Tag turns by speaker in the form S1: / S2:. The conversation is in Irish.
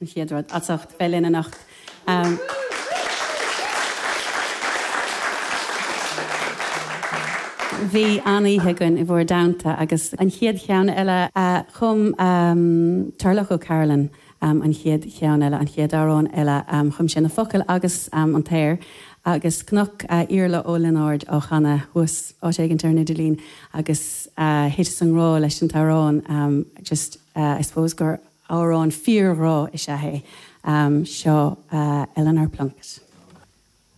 S1: An chéad rud, as ucht bheith linn anocht. Bhí an-oíche againn i bhur dteannta agus an chéad cheann eile chum Turlough O'Carolan an chéad cheann eile, an chéad amhrán eile, chum sé na focail agus an t-aer agus chonac Iarla Ó Lionáird á chanadh thuas áit éigint ar an idirlíon agus thiteas i ngrá leis an t-amhrán just I suppose gur Amhrán fíorghrá is ea é seo Eleanor Plunkett.